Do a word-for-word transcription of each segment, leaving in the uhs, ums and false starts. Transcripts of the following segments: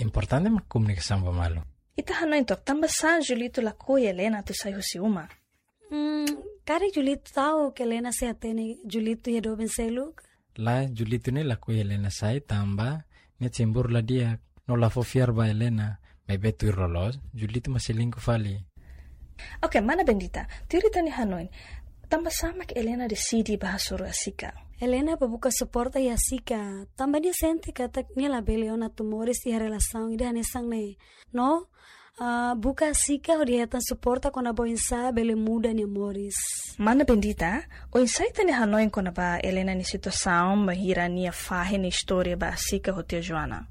Importante mak komunikasaun ba malu. Ita hanoin took tanbasá Julito lakohi Helena atu sai husi uma? Hmm, karik Julito ta'uk Helena sei hatene Julito iha doben seluk? Lae, Julito ne'e lakohi Helena sai tanba nia cemburu la di'ak no la fó fiar ba Helena, maibé tuir loloos Julito mak selingkuh fali. Oke, mana Bendita, tuir ita-nia hanoin, tanbasá mak Helena deside bá hasoru Asika? Helena bá buka suporta iha Asika, tanba nia sente katak nia labele ona atu moris iha relasaun ida hanesan ne'e. No, ah, buka Asika hodi hetan suporta kona-ba oinsá bele muda nia moris. Mana Bendita, oinsá ita-nia hanoin kona-ba Helena nia situasaun bainhira nia fahe nia istória ba Asika ho tia Joana?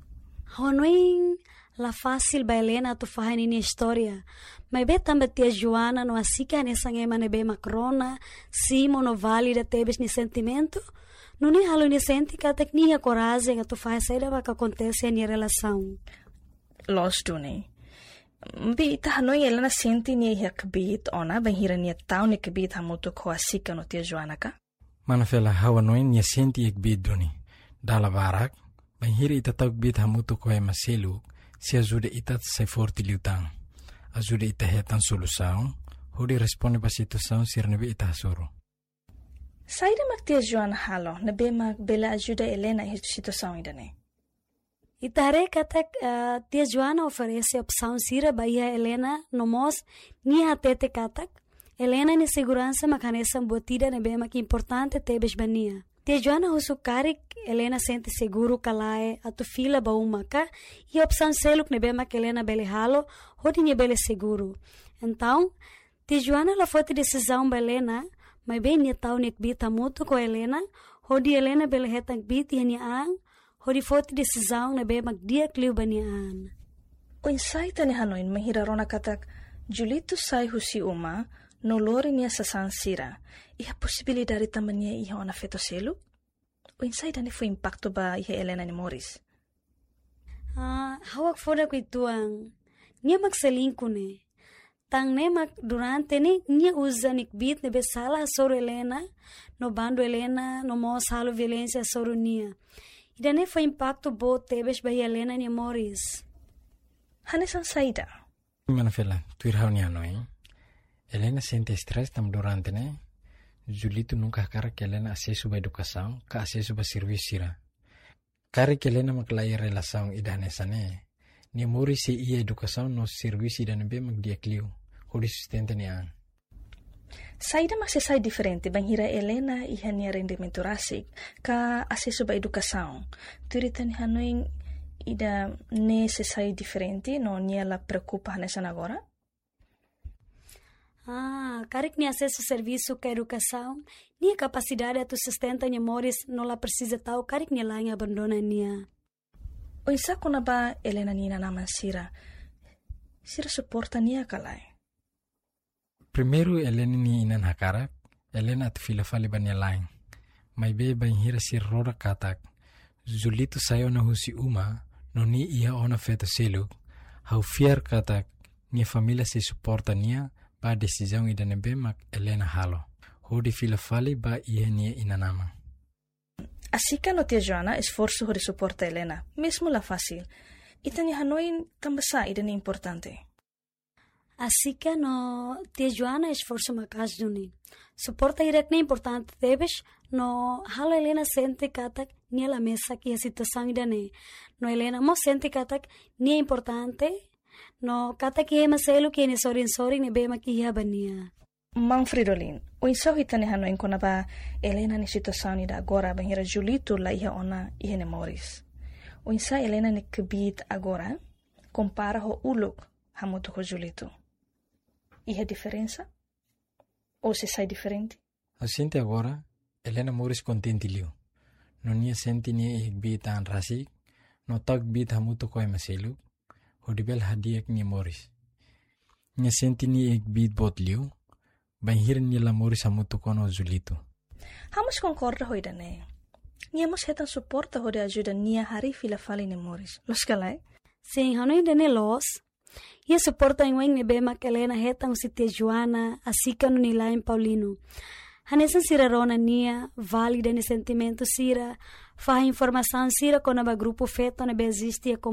Hanoin la fasil ba Helena atu fahe ninia istória. Maibé tanba tia Joana no Asika hanesan ema ne'ebé mak rona, simu no valida tebes nia sentimentu, nune'e halo nia sente katak nia iha korajen atu fahe saida mak akontese iha nia relasaun. Loos duni. Maibé ita hanoin Helena sente nia iha kbiit ona bainhira nia tau nia kbiit hamutuk ho Asika no tia Joana ka? Mana Fela, ha'u hanoin nia sente iha kbiit duni. Dala barak, bainhira ita tau kbiit hamutuk ho ema seluk, sei ajuda ita atu sai forte liután. Ajuda ita hetan solusaun, hodi responde ba situasaun sira ne'ebé ita hasoru. Saida mak tia Joana halo ne'ebé mak bele ajuda Helena iha situasaun ida-ne'e? Ita haree katak, eh, tia Joana oferese opsaun sira ba iha Helena, no mós nia hatete katak Helena nia seguransa mak hanesan buat ida ne'ebé mak importante tebes ba nia. Tia Joana husu karik Helena sente seguru ka lae atu fila ba uma ka, iha opsaun seluk ne'ebé mak Helena bele halo hodi nia bele seguru. Entaun, tia Joana la foti desizaun ba Helena, maibé nia tau nia kbiit hamutuk ho Helena, hodi Helena bele hetan kbiit iha nia an, hodi foti desizaun ne'ebé mak di'ak liu ba nia an. Oinsá ita-nia hanoin bainhira rona katak Julito sai husi uma no lori nia sasán sira, iha posibilidade tanba nia iha ona feto seluk? Oinsá ida-ne'e fó impaktu ba iha Helena nia moris? Ah, ha'u hakfodak uitoan. Nia mak selingkuh ne'e. Tan ne'e mak durante ne'e nia uza nia kbiit ne'ebé sala hasoru Helena, no bandu Helena, no mós halo violénsia hasoru nia. Ida-ne'e fó impaktu boot tebes ba iha Helena nia moris. Hanesan saida? Mana Fela, tuir ha'u-nia hanoin, Helena sente estrés tanba durante ne'e Julito nunka hakarak Helena asesu ba edukasaun, ka asesu ba servisu sira. Karik Helena mak la iha relasaun ida hanesan ne'e, nia moris sei iha edukasaun no servisu ida ne'ebé mak di'ak liu, hodi sustenta nia an. Saida mak sei sai diferente bainhira Helena iha nia rendimentu rasik, ka asesu ba edukasaun? Tuir ita-nia hanoin ida-ne'e sei sai diferente, no nia la preokupa hanesan agora? Ah, karik nia asesu servisu ka edukasaun, nia kapasidade atu sustenta nia moris no la presiza ta'uk karik nia la'en abandona nia. Oinsá kona-ba Helena nia inan-aman sira? Sira suporta nia ka lae? Primeiru, Helena nia inan hakarak Helena atu fila fali ba nia la'en. Maibé bainhira sira rona katak Julito sai ona husi uma, no nia iha ona feto seluk, ha'u fiar katak nia família sei suporta nia ba desizaun ida ne'ebé mak Helena halo, hodi fila fali ba iha nia inan-aman. Asika no tia Joana esforsu hodi suporta Helena, mezmu la fasil. Ita-nia hanoin tanbasá ida-ne'e importante? Asika no tia Joana esforsu maka'as duni. Suporta hirak-ne'e importante tebes, no halo Helena sente katak nia la mesak iha situasaun ida-ne'e. No Helena mós sente katak nia importante, no katak iha ema seluk iha nia sorin-sorin ne'ebé mak iha ba nia. Maun Fridolin, oinsá ita-nia hanoin kona-ba Helena nia situasaun ida agora bainhira Julito la iha ona iha nia moris? Oinsá Helena nia kbiit agora kompara ho uluk hamutuk ho Julito? Iha diferensa? Ou sei sai diferente? Ha'u sente agora Helena moris kontente liu. No nia sente nia iha kbiit an rasik, no tau kbiit hamutuk ho ema seluk, hodi bele hadi'a nia moris. Nia sente nia iha kbiit boot liu bainhira nia la moris hamutuk ona ho Julito. Ha'u mós konkorda ho ida-ne'e. Nia mós hetan suporta hodi ajuda nia harii fila fali nia moris. Loos ka lae? Sin, ha'u hanoin ida-ne'e loos. Iha suporta oioin ne'ebé mak Helena hetan husi tia Joana, Asika no nia la'en Paulino. Hanesan sira rona nia, valida nia sentimentu sira, fahe informasaun sira kona-ba grupu feto ne'ebé eziste iha komunidade.